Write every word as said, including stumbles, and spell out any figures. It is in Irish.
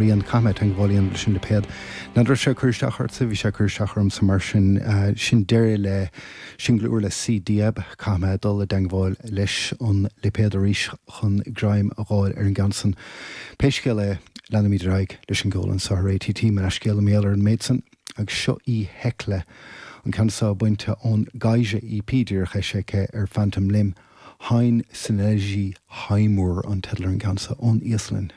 Rian caithfidh mé teagmháil a dhéanamh leis an lipéad. N'fheadar sé cur isteach ortsa bhí sé cur isteach ormsa mar sin uh, sin deireadh le single úr le C Diab caithfidh mé dul i dteagmháil leis an lipéad arís chun greim a fháil ar an gceann san. Pé scéal é leanaimid ar aghaidh leis an gceol anseo ar ATT mar scéal méal ar an méid san agus seo í Hekla an ceann seo bainte ón Gaise EP díreach eisithe ar Phantom Limb Hein Sinelgi Heimur an teideal ar an gceann seo ón Íoslainn.